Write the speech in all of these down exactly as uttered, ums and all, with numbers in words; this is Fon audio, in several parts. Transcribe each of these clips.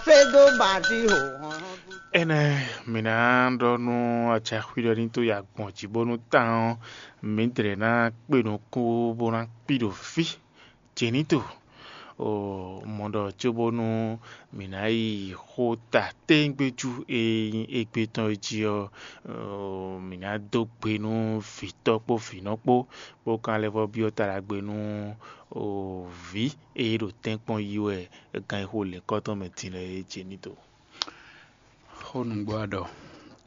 Fé dó bǎ jí hǒ hɔn. Énɛ́ mǐ ná ɖɔ nú acaxwí ɖɔ ní tó yi agbɔ̌n jí bónú tán ɔ́, mǐdɛɛ ná kpe nukún bó ná kpi ɖo fí. Jěnítɔ, o mɔ ɖɔ cóbónú mǐ ná yi xó ta téńgbéjú e nyí égbé tɔn é jí ɔ́, mǐ ná dó gbe nú vǐtɔ́ kpó vǐnɔ kpó, bó ka lɛ́ vɔ́ byɔ́ ta ɖagbe nú vǐ e ɖo tɛ́nkpɔ́n yí wɛ gán e xo lěkɔ́ tɔn mɛ din lɛ́ɛ é. Jěnítɔ. Xó nǔgbó a ɖɔ,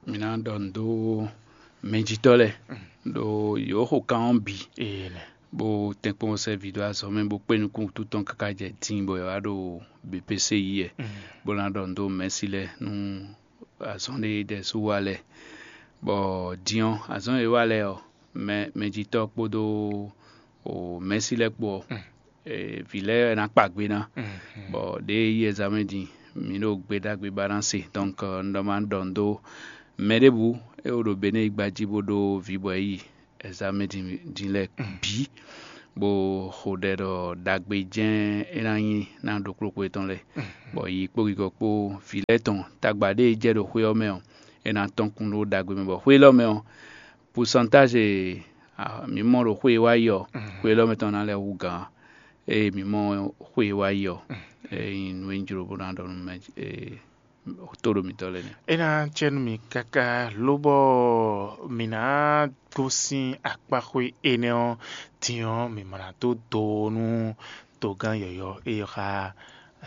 mǐ ná ɖɔ nǔ dó mɛjitɔ́ lɛ́ɛ ɖo yǒxo kan ɔ́ bǐ, bó tɛ́nkpɔ́n sɛ́ vǐ dó azɔ̌ mɛ bó kpé nukún wútu tɔn káká jɛ din bɔ è wá ɖo B P C yí wɛ, bó ná ɖɔ nǔ dó mɛ̌si lɛ́ɛ nú azɔn ɖé ɖɛ̌ sú wa lɛ́ɛ, bɔ din ɔ́, azɔn e wa lɛ́ɛ ɔ́, mɛ mɛjitɔ́ kpódó mɛ̌si lɛ́ɛ kpó ɔ́, vǐ lɛ́ɛ wɛ ná kpa gbe ná, bɔ ɖěe yí ɛzamɛ din mǐ ɖo gbe ɖagbe ba ná se. Donc un ɖɔ ma ɖɔ nǔ dó mɛ ɖěbǔ e wo ɖo Benɛ́ɛ yígbá jí bó ɖó vǐ bɔ é yi ɛzamɛ din lɛ́ɛ bǐ, bó xo ɖɛ ɖɔ ɖagbe jɛ́n é ná nyí ná ɖokpló xwe tɔn lɛ́ɛ, bɔ yi kpó gigɔ kpó vǐ lɛ́ɛ tɔn tagba ɖé e jɛ ɖo xwé ɔ́ mɛ ɔ́, é ná tɔ́n kún ɖó ɖagbe mɛ, bɔ xwé élɔ́ mɛ ɔ́, pusantázi e mǐ mɔ ɖo xwé e wá yi ɔ́, xwé élɔ́ mɛ tɔn ná lɛ́ hú gǎn ée mǐ mɔ xwé e wá yi ɔ́. É nyí nǔ e un jló bó ná ɖɔ nú mɛ tó ɖo mǐtɔn lɛ́ɛ nɛ́. É ná cɛ nú mì káká lóbɔ mǐ ná gosín akpáxwé énɛ́ ɔ́ din ɔ́, mǐ ma ná dó do nú togán yɔ̌yɔ́ e xá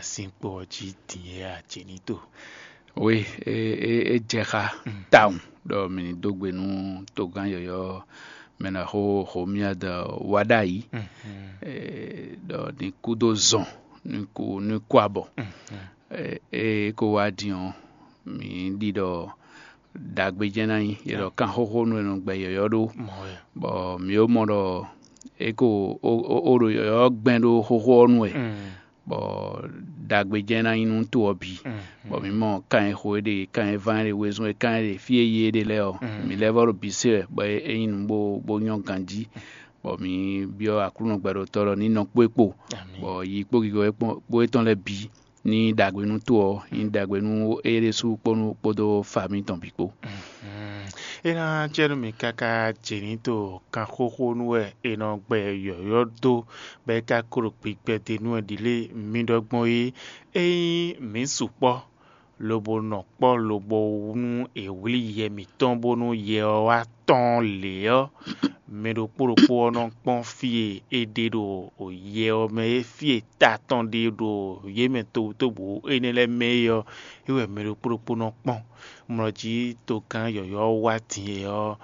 sinkpo ɔ́ jí din é a? Jěnítɔ. Wi, é jɛ xá tawun ɖɔ mǐ ní dó gbe nú togán yɔ̌yɔ́ mɛ ná xó xomia dɔ wá ɖ'ayǐ, ɖɔ ní kú dó zɔn, ní kú ní kú abɔ. É kó wá din ɔ́, mǐ ɖi ɖɔ ɖagbe jɛ́n ná nyí, è ɖɔ kan xóxó nú è nɔ gbɛ yɔ̌yɔ́ ɖó, bɔ mǐ ó mɔ ɖɔ é ko ó ɖo yɔ̌yɔ́ gbɛn ɖó xóxó ɔ́ nu wɛ, bɔ ɖagbe jɛ́n ná nyí nú to ɔ́ bǐ. Bɔ mǐ mɔ kan e xo é ɖe, kan e ván é ɖe, wezun e kan é ɖe, fí e yi é ɖe lɛ́ɛ ɔ́, mǐ lɛ́ vɔ́ ɖo bǐ se wɛ, bɔ é nyí nǔ bó bó nyɔ́ ganjí, bɔ mǐ byɔ́ Aklúnɔ gbɛɖotɔ́ ɖɔ ní nɔ kpó é kpo, bɔ yi kpó gigɔ kpó étɔn lɛ́ɛ bǐ ní ɖagbe nú to ɔ́, ní ɖagbe nú é ɖésú kpódó famí tɔn bǐ kpó. É ná jɛ nú mì káká jě ní to kan xóxó nú wɛ è nɔ gbɛ yɔ̌yɔ́ dó, bɔ é ka klo gbigbɛ d'é nú wɛ ɖi lé mi ɖɔ gbɔn é. Ényí mǐ sukpɔ́, lobo nɔ kpɔ́ lobo nú è wlí yɛ mǐtɔn bónú yɛ ɔ́ wá tɔ́n lě ɔ́, mɛ ɖokpó ɖokpó ɔ́ nɔ kpɔ́n fí e è ɖe ɖo yɛ ɔ́ mɛ é, fí e ta tɔn ɖe ɖo yě mɛ tobutóbú énɛ́ lɛ́ɛ mɛ é ɔ́, é wɛ mɛ ɖokpó ɖokpó nɔ kpɔ́n. Mlɔ jí togán yɔ̌yɔ́ wá din e ɔ́,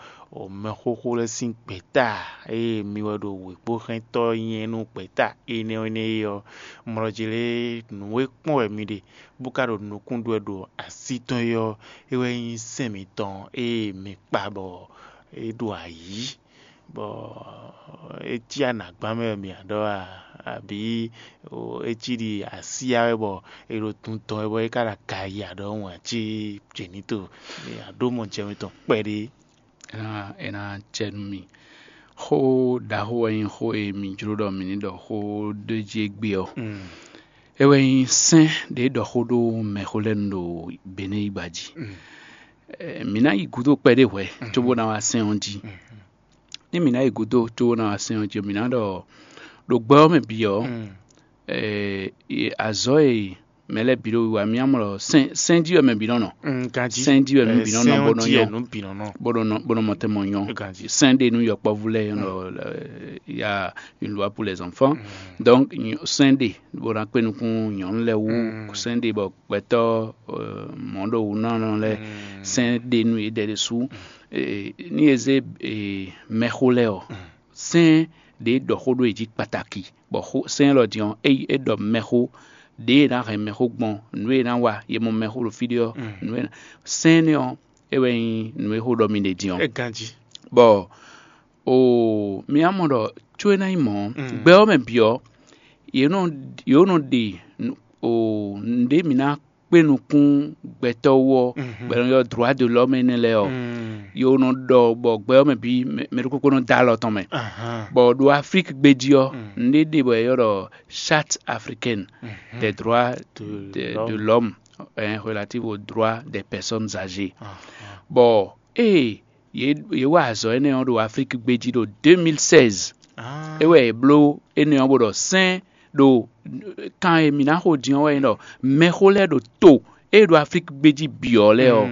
mɛxóxó lɛ́ɛ sín gběta e mi wɛ ɖo wěkpóxɛ́ntɔ́ nyɛ nú gběta énɛ́ énɛ́ é ɔ́, mlɔ jí lé nǔ e kpɔ́n wɛ mi ɖe, bó ka ɖo nukún ɖu wɛ ɖo así tɔn é ɔ́, é wɛ nyí sɛ́n mitɔn e mi kpa bɔ é ɖo ayǐ, bɔ é cí anǎgbán mɛ wɛ mi ǎ ɖɔ a, abǐ é cí ɖi asyá wɛ bɔ è ɖo tun tɔn wɛ bɔ é ka ɖo aga yi aɖɔhun ǎ cí jěnítɔ, mi aɖó mɔ jɛ mitɔn kpɛɖé. É ná é ná cɛ nú mi. Xó ɖaxó wɛ nyí xó e mi jló ɖɔ mi ní ɖɔ xó ɖé jí égbé ɔ́. É wɛ nyí sɛ́n ɖě ɖɔ xó ɖó mɛxó lɛ́ɛ nu ɖo Benɛ́ yígbá jí. Mǐ ná yi gúdo kpɛɖé hwɛ̌ cóbó ná wá sɛ́n ɔ́ jí. Ní mǐ ná yi gúdo cóbó ná wá sɛ́n ɔ́ jí, mǐ ná ɖɔ ɖo gbɛ ɔ́ mɛ bǐ ɔ́, azɔ̌ e mɛ lɛ́ɛ bǐ ɖo wiwa mì ǎ mɔ ɖɔ sɛ́n sɛ́n jí wɛ mɛ bǐ nɔ nɔ. Sɛ́n jí wɛ nú bǐ nɔ nɔ bó nɔ nyɔ, bó nɔ nɔ bó nɔ mɔ tɛn mɔ nyɔ. Sɛ́n ɖe nú yɔkpɔ́vú lɛ́ɛ nɔ ya une loi pour les enfants. Donc sɛ́n ɖe bó ná kpé nukún nyɔ̌nu lɛ́ɛ wú, sɛ́n ɖe bɔ gbɛtɔ́ mɔ̌ ɖo wǔ nɔ nɔ lɛ́ɛ, sɛ́n ɖe nú yědɛɛ ɖésú. Ní e zé mɛxó lɛ́ɛ ɔ́, sɛ́n ɖě ɖɔ xó ɖó yě jí kpataki, bɔ xó sɛ́n élɔ́ din ɔ́, ényí é ɖɔ mɛxó ɖě e ná hɛn mɛxó gbɔn, nǔ e ná wa, ye mɔ mɛxó ɖo fí ɖé ɔ́, nǔ e sɛ́n énɛ́ ɔ́, é wɛ nyí nǔ e xó ɖɔ mi ɖe din ɔ́. É ganjí. Bɔ o mi wá mɔ ɖɔ có é ná nyí mɔ̌, gbɛ ɔ́ mɛ bǐ ɔ́, yě nɔ yě nɔ ɖe o nǔɖé mǐ ná kpé nukún gbɛtɔ́ wú ɔ́, bɔ è nɔ ylɔ́ droit de l'homme énɛ́ lɛ́ɛ ɔ́, yě nɔ ɖɔ bɔ gbɛ ɔ́ mɛ bǐ mɛ ɖokpókpó nɔ dó alɔ tɔn mɛ. Bɔ ɖo Aflíki gbé jí ɔ́, nǔɖé ɖe bɔ è ylɔ́ ɖɔ charte africaine des droits de l'homme. eh, relative aux droits des personnes âgées. Bɔ ée yě yě wa azɔ̌ énɛ́ ɔ́ ɖo Aflíki gbé jí ɖo deux mille seize, é wɛ yě bló énɛ́ ɔ́ bó ɖɔ sɛ́n ɖo kan e mǐ ná xo din ɔ́ wɛ nyí ɖɔ mɛxó lɛ́ɛ ɖo to e ɖo Aflíki gbé jí bǐ ɔ́ lɛ́ɛ ɔ́,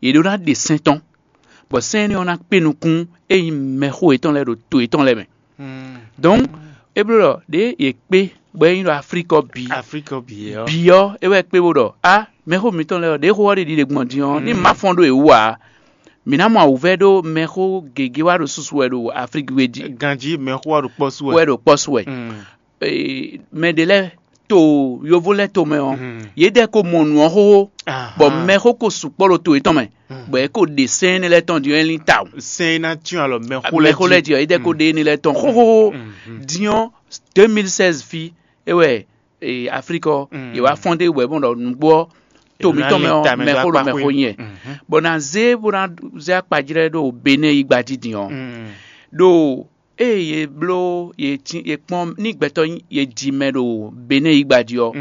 yě ɖó ná ɖe sɛ́n tɔn, bɔ sɛ́n énɛ́ ɔ́ ná kpé nukún e nyí mɛxó yětɔn lɛ́ɛ ɖo to yětɔn lɛ́ɛ mɛ. Donc é bló ɖɔ ɖěe yě kpé bɔ é nyí ɖɔ Aflíki ɔ́ bǐ Afrique ɔ́ bǐ ɔ́. Bǐ ɔ́, é wɛ kpé bó ɖɔ á mɛxó mǐtɔn lɛ́ɛ ɔ́, ɖěxo ɔ́ ɖe ɖiɖe gbɔn din ɔ́, ní má fɔ́n ɖó yě wú ǎ, mǐ ná mɔ awǔvɛ́ ɖó mɛxó gěgé wá ɖo susu wɛ ɖo Aflíki wé jí. Ganjí mɛxó wá ɖo kpɔ́ sú wɛ. Wɛ ɖo kpɔ́ sú wɛ. Mm. Ee, mɛ ɖé lɛ́ɛ to yovo lɛ́ɛ tomɛ ɔ́, yědɛɛ ko mɔ nǔ ɔ́ xóxó, bɔ mɛxó ko sukpɔ́ ɖo to yětɔn mɛ, bɔ é ko ɖe sɛ́n énɛ́ lɛ́ɛ tɔn din ɔ́, é lín tawun. Sɛ́n é ná cyɔ́n alɔ mɛxó lɛ́ɛ mɛxó lɛ́ɛ jí. Jí ɔ́, yědɛɛ ko ɖe énɛ́ lɛ́ɛ tɔn xóxóxó. Din ɔ́, deux mille seize fí é wɛ ee, Aflíki ɔ́, yě wá fɔ́n dé wɛ bɔ ɖɔ nǔgbó ɔ́, to mǐtɔn mɛ ɔ́, mɛxó ɖo mɛxó nyɛ, bɔ ná zé bó ná zé akpajlɛ́ ɖo Benɛ́ yí gba jí din ɔ́. Ɖo ée yě bló yě cí yě kpɔ́n ní gbɛtɔ́ yě ji mɛ ɖo Benɛ́ yí gba jí ɔ́,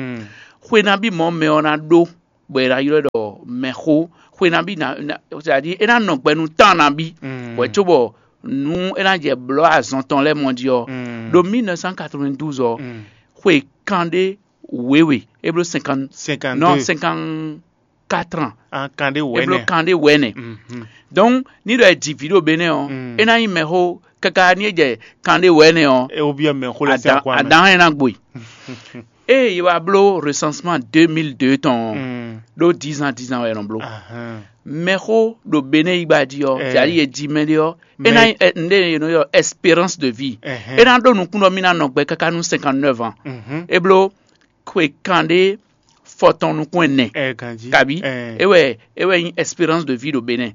xwe nabí mɔ̌ mɛ ɔ́ ná ɖó, bɔ è nǎ ylɔ́ ɛ ɖɔ mɛxó. Xwe nabí ná, ná c'est-à-dire é ná nɔ gbɛ nú tán nabí, bɔ cóbɔ nú é ná jɛ blɔ̌ azɔn tɔn lɛ́ɛ mɔ jí ɔ́, ɖo mille neuf cent quatre-vingt-douze ɔ́, xwe kanɖé wěwe é bló cinquante, cinquante-deux. Non, cinquante-quatre ans. An kanɖé é bló wɛ̌nɛ. Kanɖé wɛ̌nɛ. Donc ní ɖɔ è ji vǐ ɖo Benɛ́ ɔ́, é ná nyí mɛxó káká ní é jɛ kanɖé wɛ̌nɛ ɔ́, É wó byɔ́ mɛ xó lɛ́ɛ sín adan akwa mɛ. Adan é ná gbo e. Ée yě wá bló recensement deux mille deux tɔn ɔ́, ɖó dix ans dix ans wɛ è nɔ bló. Mɛxó ɖo Benɛ́ yí gba jí ɔ́, c'est-à-dire yě ji mɛɖé ɔ́, é ná nyí ɛ- nɖé è nɔ ylɔ́ espérance de vie. É ná ɖó nukún ɖɔ mì ná nɔ gbɛ káká nú cinquante-neuf ans. É bló xwe kanɖé fɔtɔn nukún ɛnɛ. Ɛ ganjí. Kabi é wɛ é wɛ nyí espérance de vie ɖo Benɛ́.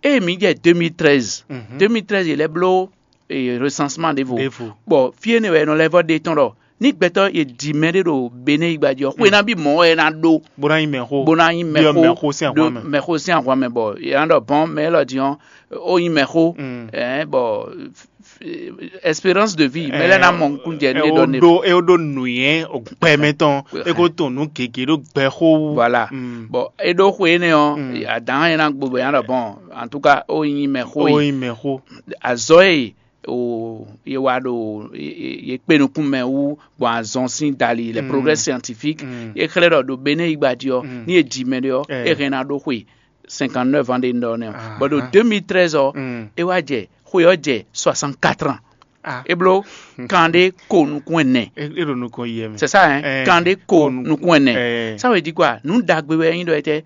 Ée mǐ jɛ deux mille treize, deux mille treize yě lɛ́ bló recensement ɖěvo. Bɔ fí énɛ́ wɛ è nɔ lɛ́ vɔ́ ɖe tɔn ɖɔ ní gbɛtɔ́ è ji mɛɖé ɖo Benɛ́ yí gba jí ɔ́, xwe ná bí mɔ̌ wɛ é ná ɖó bó ná nyí mɛxó. Bó ná nyí mɛxó. Mɛxó sín ahwan mɛ. Mɛxó sín ahwan mɛ, bɔ è nǎ ɖɔ bɔn mɛ élɔ́ din ɔ́, ó nyí mɛxó. Ɛɛ bɔ espérance de vie mɛ lɛ́ɛ ná mɔ nukún jɛ ní ɖɔ ne. Ɖó é ɖó nǔnywɛ́ gbɛmɛ tɔn é kó tɔn nǔ gěgé ɖó gbɛxó wú. Voilà. Bɔ é ɖó xwe énɛ́ ɔ́, adǎn é ná gbo bɔ é ná ɖɔ bɔn, en tout cas ó nyí mɛxó. Ó nyí mɛxó. Azɔ̌ e o ye wa ɖo ye kpe nukún mɛ wú gbɔn azɔn sín dali, les progrès scientifiques, ye xlɛ́ ɖɔ ɖo Benɛ́ yí gba jí ɔ́, ní e ji mɛ ɖé ɔ́, é hɛn ná ɖó xwe cinquante-neuf ans ɖe un ɖɔ nɛ ɔ́. Bɔ ɖo deux mille treize ɔ́, é wá jɛ xwe ɔ́ jɛ soixante-quatre ans. É bló kanɖé ko nukún ɛnɛ. É ɖo nukɔn yi mɛ. C'est ça, hein? Kanɖé ko nukún ɛnɛ. Ça veut dire quoi? Nǔ ɖagbe wɛ é nyí ɖɔ étɛ́?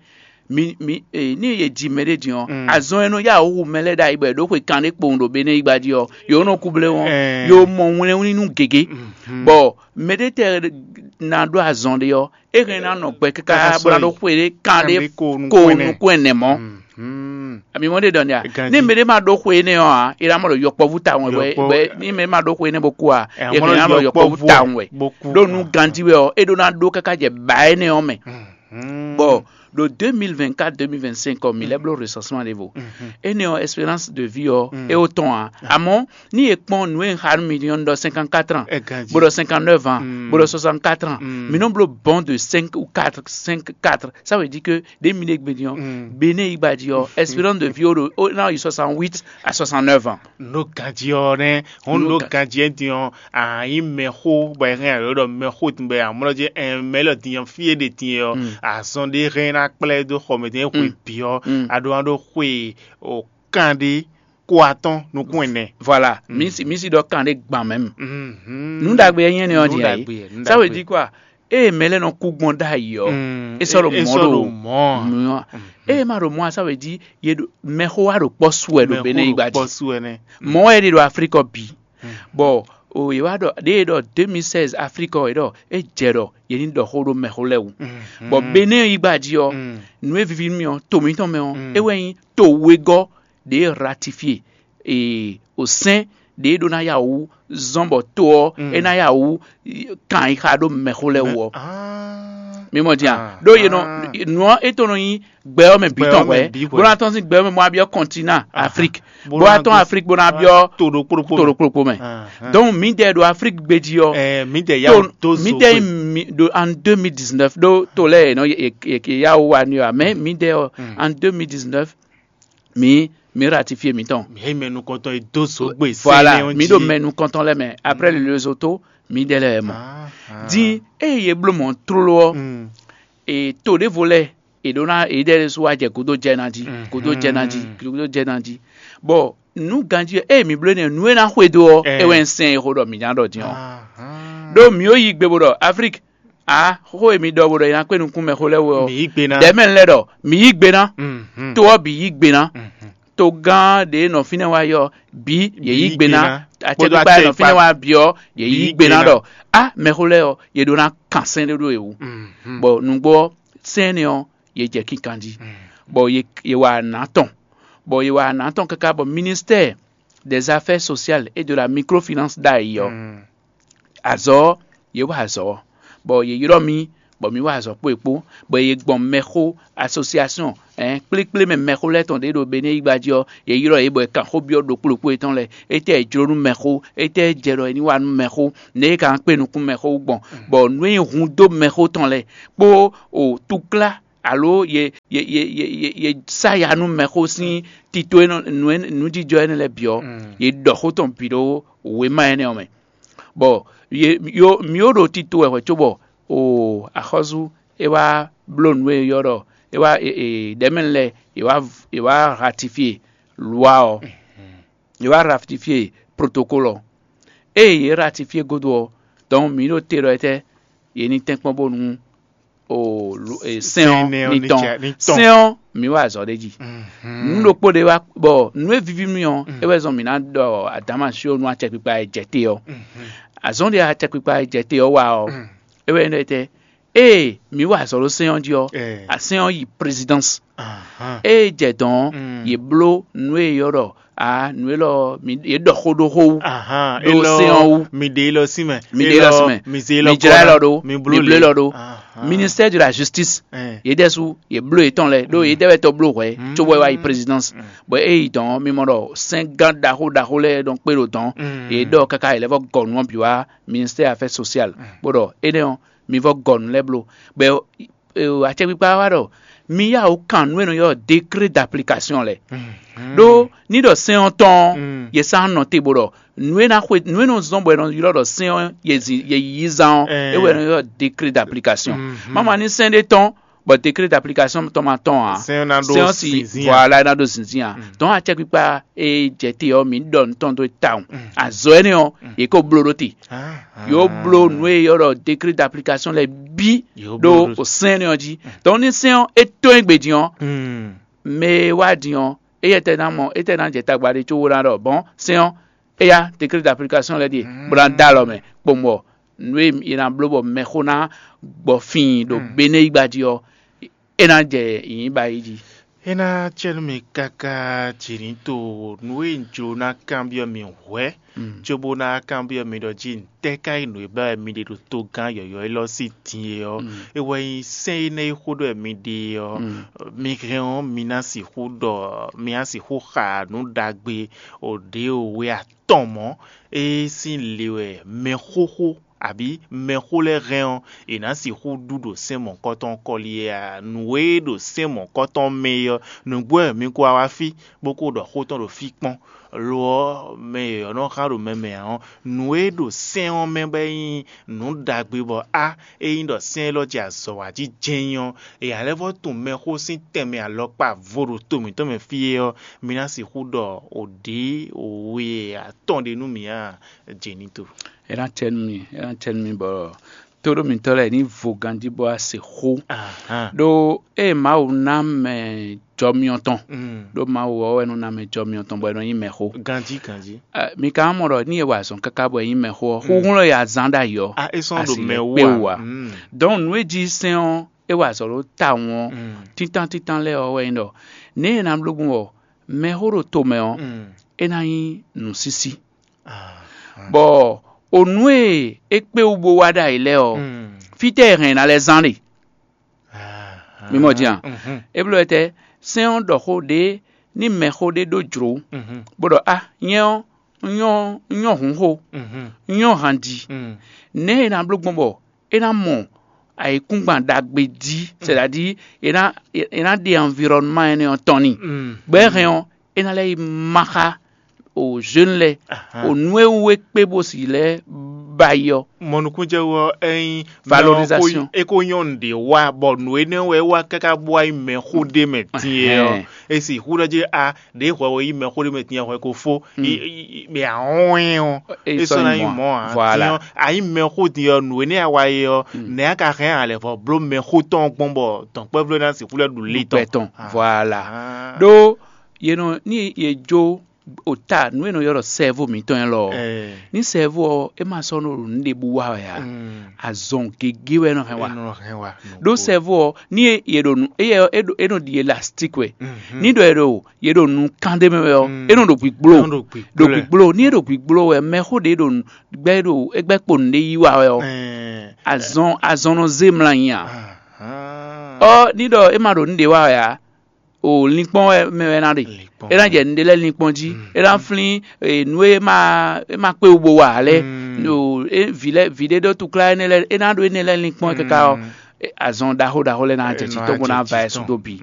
Mi mi eh, ní e ji mɛ ɖé din ɔ́, azɔn e nɔ yá wǔ mɛ lɛ́ɛ ɖ'ayǐ bɔ è ɖǒ xwe kanɖé kpowun ɖo Benɛ́ yí gba jí ɔ́, yǒ nɔ kú blé wɔn, yǒ mɔ wlɛ́nwlín nú gěgé. Bɔ mɛ ɖé tɛ ná ɖó azɔn ɖé ɔ́, é hɛn ná nɔ gbɛ káká bó ná ɖó xwe ɖé kanɖé ko nukún ɛnɛ mɔ. Ami mɔ ɖe ɖɔ nɛa? Ní mɛ ɖé ma ɖó xwe énɛ́ ɔ́ ǎ, é ná mɔ ɖɔ yɔkpɔ́vú tawun wɛ. Ní mɛ ma ɖó xwe énɛ́ bó kú ǎ, é hɛn ná mɔ ɖɔ yɔkpɔ́vú tawun wɛ. Ɖó nú ganjí wɛ ɔ́, é ɖó ná ɖó káká jɛ bǎ énɛ́ ɔ́ mɛ. Bɔ ɖo deux mille vingt-quatre deux mille vingt-cinq ɔ́, mǐ lɛ́ bló recensement ɖěvo. Énɛ́ ɔ́, espérance de vie ɔ́, é wó tɔn ǎ. Amɔ̌ ní è kpɔ́n nǔ e un xa nú mi din ɔ́, un ɖɔ cinquante-quatre ans, bó ɖɔ cinquante-neuf ans, bó ɖɔ soixante-quatre ans, mǐ nɔ bló bɔn de cinq ou quatre, cinq quatre. Ça veut dire que ɖě mi ɖe gbe din ɔ́, Benɛ́ yí gba jí ɔ́, espérance de vie ɔ́ ɖo ná yi soixante-huit à soixante-neuf ans. Nǔ ganjí ɔ́ nɛ́, hɔn nǔ ganjí ɔ́ din ɔ́, a nyí mɛxó bɔ è hɛn alo ɖɔ mɛxó din bɔ amlɔ jí mɛ lɔ din ɔ́ fí e ɖe din ɔ́, azɔn ɖé hɛn ná kplá ɛ dó xɔ mɛ din xwe bǐ ɔ́, a ɖó ná ɖó xwe o kan ɖé ko atɔ́n nukún ɛnɛ. Voilà, mǐ si mǐ si ɖɔ kan ɖé gban mɛ. Nǔ ɖagbe e nyí énɛ́ ɔ́ din ǎ é. Ça veut dire quoi? Ée mɛ lɛ́ɛ nɔ kú gbɔn ɖ'ayǐ ɔ́, é sɔ́ ɖo mɔ̌ ɖo mɔ̌. Ée ma ɖo mɔ̌ ǎ, ça veut dire ye ɖo mɛxó wa ɖo kpɔ́ su wɛ ɖo Benɛ́ yí gba jí. Mɔ̌ wɛ é ɖe ɖo Aflíkɔ bǐ. Bɔ o yě wá ɖɔ ɖěe ɖɔ deux mille seize Aflíkɔ é ɖɔ é jɛ ɖɔ yě ní ɖɔ xó ɖó mɛxó lɛ́ɛ wú. Bɔ Benɛ́ yí gba jí ɔ́, nǔ e víví nú mì ɔ́, to mǐtɔn mɛ ɔ́, é wɛ nyí to wegɔ́ ɖě ratifié e o sɛ́n ɖě ɖó ná yá wǔ zɔ́n bɔ to ɔ́ é ná yá wǔ kan yi xa ɖó mɛxó lɛ́ɛ wú ɔ́. Mi mɔ din a? Ɖó yě nɔ nǔ ɔ́ é tɔn nɔ nyí gbɛ ɔ́ mɛ bǐ tɔn hwɛ̌, bó ná tɔ́n sín gbɛ ɔ́ mɛ bó ná byɔ́ kɔntinán Aflík, bó ná tɔ́n Aflík bó ná byɔ́ to ɖokpó ɖokpó mɛ. Donc mǐdɛɛ ɖo Aflík gbé jí ɔ́, mǐdɛɛ yá wǔ dó zo mǐdɛɛ ɖo en deux mille dix-neuf ɖó to lɛ́ɛ è nɔ yá wǔ wa n'i ɔ́, mɛ mǐdɛɛ ɔ́ en deux mille dix-neuf mǐ mǐ ratifié mǐtɔn. Mǐ yí mɛ nukɔntɔn e dó zǒgbé voilà sɛnɛ ɔ́ mǐ ɖo jí. Mɛ nukɔntɔn lɛ́ɛ mɛ après le réseau to mǐdɛɛ lɛ́ɛ mɔ. Din ée yě bló mɔ̌ tlóló ɔ́, e to ɖěvo lɛ́ɛ è ɖó ná èyíɖɛ́ ɖésú wá jɛ gúdo jɛ ná jí gúdo jɛ ná jí gúdo jɛ ná jí. Bɔ nǔ ganjí ɔ́, ée mǐ bló énɛ́ nǔ e ná xwedó ɔ́, é wɛ nyí sɛn e xó ɖɔ mǐ ná ɖɔ din ɔ́. Ɖó mǐ ó yí gbe bó ɖɔ Aflík, a xó e mi ɖɔ bó ɖɔ è nǎ kpé nukún mɛxó lɛ́ɛ wú ɔ́, Mǐ yí gbe ná. Dɛ̌ mɛ lɛ́ɛ ɖɔ mǐ yí gbe ná. Mhm. To ɔ́ bǐ yí gbe ná. Mhm. Togán ɖě nɔ fínɛ́ wá yɔ bǐ yě yí gbe ná. Kpódó Acɛkpikpa e nɔ fínɛ́ wá bǐ ɔ́, yě yí gbe ná ɖɔ á mɛxó lɛ́ɛ ɔ́, yě ɖó ná kan sɛ́n ɖé ɖó yě wú. Mhm. Bɔ nǔgbó ɔ́, sɛ́n énɛ́ ɔ́, yě jɛ kinkan jí. Mhm. Bɔ yě yě wa nǎ tɔn, bɔ yě wa nǎ tɔn káká bɔ ministère des affaires sociales et de la microfinance ɖ'ayǐ ɔ́, Mm. Azɔ̌ ɔ́, yě wa azɔ̌ ɔ́, bɔ yě ylɔ́ mì, bɔ mǐ wa azɔ̌ kpó yě kpó, bɔ yě gbɔn mɛxó asosiasɔn ɛn kplékplé mɛ mɛxó lɛ́ɛ tɔn ɖě ɖo Benɛ́yigba jí ɔ́, yě ylɔ́ yě bɔ è kan xó byɔ́ ɖokpó ɖokpó yětɔn lɛ́ɛ, étɛ́ è jló nú mɛxó, étɛ́ jɛ ɖɔ è ní wa nú mɛxó, nɛ̌ è ka ná kpé nukún mɛxó wú gbɔn, bɔ nǔ e nyí hun dó mɛxó tɔn lɛ́ɛ kpó o túklá alo yě yě yě yě yě yě sá ya nú mɛxó sín tito e nɔ nǔ e nǔjijɔ énɛ́ lɛ́ɛ bǐ ɔ́, yě ɖɔ xó tɔn bǐ ɖó wěma énɛ́ ɔ́ mɛ. Bɔ yě yo mǐ ó ɖo tito wɛ hwɛ̌ cóbɔ o axɔ́sú é wá bló nǔ e ylɔ́ ɖɔ é wá e e ɖɛ̌mɛnu lɛ́ɛ è wá è wá ratifie lwa ɔ́, è wá ratifie protokolo ɔ́. Ée yě ratifie gúdo ɔ́, dɔn mǐ ɖo te ɖɔ étɛ́ yě ní tɛ́nkpɔ́n bónú o lo- e, sɛ́n ɔ́ Sɛ́n ɔ́ ní ní tɔn ca- ní tɔn. Sɛ́n ɔ́ mǐ wa azɔ̌ ɖé jí. Mhm. Nǔ ɖokpó ɖé wá bɔ nǔ e víví mì ɔ́, é wɛ zɔn mǐ ná ɖɔ adǎma só nú acɛkpikpa e jɛ te ɔ́. Azɔ̌ ɖé acɛkpikpa e jɛ te ɔ́ wa ɔ́, é wɛ nyí ɖɔ étɛ́ ée mǐ wa azɔ̌ ɖó sɛ́n ɔ́ jí ɔ́, Eh. Asɛ́n ɔ́ yi présidence. Ahan. Ée jɛ dɔn ɔ́, Mm. Yě bló nǔ e è ylɔ́ ɖɔ a nǔ élɔ́ ɔ́, mi- yě ɖɔ xó ɖó xó wú Ahan, ɖó élɔ́ sɛ́n ɔ́ wú. Mi ɖe élɔ́ sí mɛ. Mi ɖe élɔ́ sí mɛ. Mi zé élɔ́ Mi jlá kɔ élɔ́ ná. Ɖó. Mi bló Mi bló élɔ́ élɔ́ ɖó. Ahan. Ministère de la justice. Ɛ. Yě ɖɛ́sú yě bló yětɔn lɛ́ɛ ɖó yě dɛ́wɛ tɔn bló hwɛ̌ Mm. Cóbɔ é wá yi présidence. Mm. Bɔ é yi dɔn ɔ́, mi mɔ ɖɔ sɛ́ngán ɖaxó ɖaxó lɛ́ɛ nɔ kpé ɖo dɔn. Mm. Yě ɖɔ káká yě lɛ́ vɔ gɔ nǔ ɔ́ bǐ wá ministère affaires sociales. Mm. Bó ɖɔ énɛ́ ɔ́, mi vɔ gɔ nǔ lɛ́ɛ bló. Bɔ acɛkpikpa wá ɖɔ mi yá wǔ kan nǔ e nɔ ylɔ́ décret d'application lɛ́ɛ. Ɖó ní ɖɔ sɛ́n ɔ́ tɔn ɔ́, yě sá nɔ te bó ɖɔ nǔ e ná xwe nǔ e nɔ zɔ́n bɔ è nɔ ylɔ́ ɖɔ sɛ́n ɔ́ yě zin yě yí zán ɔ́, é wɛ è nɔ ylɔ́ décret d'application. Má ma ní sɛ́n ɖé tɔn bɔ décret d'application tɔn ma tɔn ǎ. Sɛ́n ɔ́ ná ɖó Sɛ́n ɔ́ sì zinzin ǎ. Voilà é ná ɖó zinzin ǎ. Dɔn acɛkpikpa e jɛ te ɔ́, mǐ ɖɔ nǔ tɔn dó tawun. Azɔ̌ énɛ́ ɔ́, yě ko bló ɖó te. Yǒ bló nǔ e ylɔ́ ɖɔ décret d'application lɛ́ɛ bǐ Yǒ ɖó bló ɖó. Sɛ́n énɛ́ ɔ́ jí. Dɔn ní sɛ́n ɔ́ é tɔ́n é gbe din ɔ́, Mm. mɛ e wá din ɔ́, éyɛ́ tɛ ná mɔ étɛ́ ná jɛ tagba ɖé có wó ná ɖɔ bɔn sɛ́n ɔ́ éyá décret d'application lɛ́ɛ ɖíe bó ná dó alɔ mɛ kpowun bɔ nǔ e è nǎ bló bɔ mɛxó ná gbɔ fíin ɖo Benɛ́yigba jí ɔ́, é ná jɛ yǐnyí ba yi jí. É ná cɛ nú mi káká jǐnító nǔ e un jló ná kanbyɔ́ mi hwɛ̌, cóbó ná kanbyɔ́ mi ɖɔ jí ntɛ́ ká nyí nǔ e ba wɛ mi ɖe ɖo togán yɔ̌yɔ́ élɔ́ sín din é ɔ́, é wɛ nyí sɛ́n énɛ́ e xó ɖɔ wɛ mi ɖe é ɔ́, mi hɛn ɔ́, mi ná sixú ɖɔ mi ná sixú xa nǔ ɖagbe o ɖě o we atɔn mɔ̌, é sín le wɛ mɛxóxó abǐ mɛxó lɛ́ɛ hɛn ɔ́, è nǎ sixú ɖu ɖo sɛ́n mɔ̌kɔtɔn kɔ́li é a? Nǔ e ɖo sɛ́n mɔ̌kɔtɔn mɛ é ɔ́, nǔgbó wɛ mi ko wá wá fí, bó ko ɖɔ xó tɔn ɖo fí kpɔ́n. Lo ɔ́, mɛ e è nɔ xá ɖo mɛ mɛ ǎ ɔ́, nǔ e ɖo sɛ́n ɔ́ mɛ bɔ é nyí nǔ ɖagbe bɔ á, ényí ɖɔ sɛ́n élɔ́ jɛ azɔ̌ wa jí jɛ́n ɔ́, è ǎ lɛ́ vɔ́ tunwun mɛxó sín tɛnmɛ alɔkpa vo ɖo to mǐtɔn mɛ fí é ɔ́, mi ná sixú ɖɔ o ɖě o we atɔn ɖé nú mǐ a? Jě ní to. É ná cɛ nú mi, é ná cɛ nú mi bɔ tóɖó mitɔ́ lɛ́ɛ ní vo ganjí bó wá se xó. Ɖó ée Mawu ná mɛ jɔmyɔ tɔn, ɖó Mawu ɔ́ wɛ nɔ ná mɛ jɔmyɔ tɔn bɔ é nɔ nyí mɛxó. Ganjí ganjí. Mi ka mɔ ɖɔ ní e wa azɔn káká bɔ é nyí mɛxó ɔ́, xúxú lɔ ya zán ɖ'ayǐ ɔ́, a é sɔ́n ɖo asi mɛ lɛ́ wú kpé a? Wú ǎ. Dɔn nǔ e jí sɛ́n ɔ́ é wa azɔ̌ ɖó tawun ɔ́, títán títán lɛ́ɛ ɔ́ wɛ nyí ɖɔ nɛ̌ è nǎ bló gbɔn bɔ mɛxó ɖo tomɛ ɔ́, é ná nyí nǔsísí. Bɔ o nǔ e é kpé wú bó wá ɖ'ayǐ lɛ́ɛ ɔ́, fítɛ́ e hɛn ná lɛ́ zán ɖe. Mi mɔ din a? É bló wɛ tɛ́, sɛ́n ɔ́ ɖɔ xó ɖě ní mɛxó ɖé ɖó jlǒ, bó ɖɔ: "A, nyɛ ɔ́, un nyɔ́, un nyɔ́ hǔnxó, un nyɔ́ hanji." Nɛ̌ è nǎ bló gbɔn bɔ é ná mɔ ayǐkúngban ɖagbe jí, sɛdadi è nǎ è nǎ ɖe anvironnement énɛ́ ɔ́ tɔn n'i. Gbɛ̌ hɛn ɔ́, é ná lɛ́ yi má xá o jeune lɛ́ɛ, o nǔ e wú é kpé bó si lɛ́ ba yi ɔ́. Mɔ nukúnjɛ wú ɔ́, é nyí Valorisation. É ko nyɔ́ nǔɖé wá, bɔ nǔ énɛ́ wɛ é wá káká bó wá nyí mɛxó ɖé mɛ din é ɔ́, é sixú ɖɔ jí a ɖě hwɛ wɛ yí mɛxó ɖé mɛ din, hwɛ ko fó, mɛ ahɔ́n ɔ́, é sɔ́ ná nyí mɔ̌ ǎ. Voilà. Din ɔ́, a nyí mɛxó din ɔ́, nǔ énɛ́ a wa é ɔ́, nɛ̌ a ka hɛn a lɛ̌ vɔ bló mɛxó tɔn gbɔn bɔ dɔ̌nkpɛvlɛ́ ná sixú lɛ́ ɖu lé tɔn? Gbɛ tɔn. Voilà. Ɖó yě nɔ ní yě jó o ta nǔ e nɔ ylɔ́ ɖɔ sɛ́vú mǐtɔn élɔ́ ɔ́, ní sɛ́vú ɔ́ é ma sɔ́ nɔ ɖo nǔ ɖěbǔ wa wɛ ǎ. Azɔn gěgé wɛ é nɔ hɛn wa. Ɖó sɛ́vú ɔ́, ní e yě ɖo nǔ éyɛ ɔ́, é ɖo é nɔ ɖi elastique wɛ. Ní ɖɔ è ɖo yě ɖo nǔ kán ɖé mɛ wɛ ɔ́, é nɔ ɖo gbǐgbló. Ɖo gbǐgbló. Ní é ɖo gbǐgbló wɛ, mɛxó ɖě ɖo nǔ gbɛ́ ɖo é gbɛ́ kpo nǔɖé yí wa wɛ ɔ́, azɔn azɔn nɔ zé mlɔ anyi ǎ. Ɔ́, ní ɖɔ é ma ɖo nǔɖé wa wɛ ǎ, o linkpɔ́n wɛ mɛ wɛ ná ɖe. É ná jɛ nǔɖé lɛ́ɛ linkpɔ́n jí. É ná flín nǔ e ma é ma kpé wú bó wa ǎ lɛ́ɛ. Vǐ lɛ́ɛ vǐ ɖé ɖó túklá énɛ́ lɛ́ɛ, é ná ɖó énɛ́ lɛ́ɛ linkpɔ́n káká ɔ́, azɔn ɖaxó ɖaxó lɛ́ɛ ná jɛ títɔ́ bó ná va ɛ sú dó bǐ.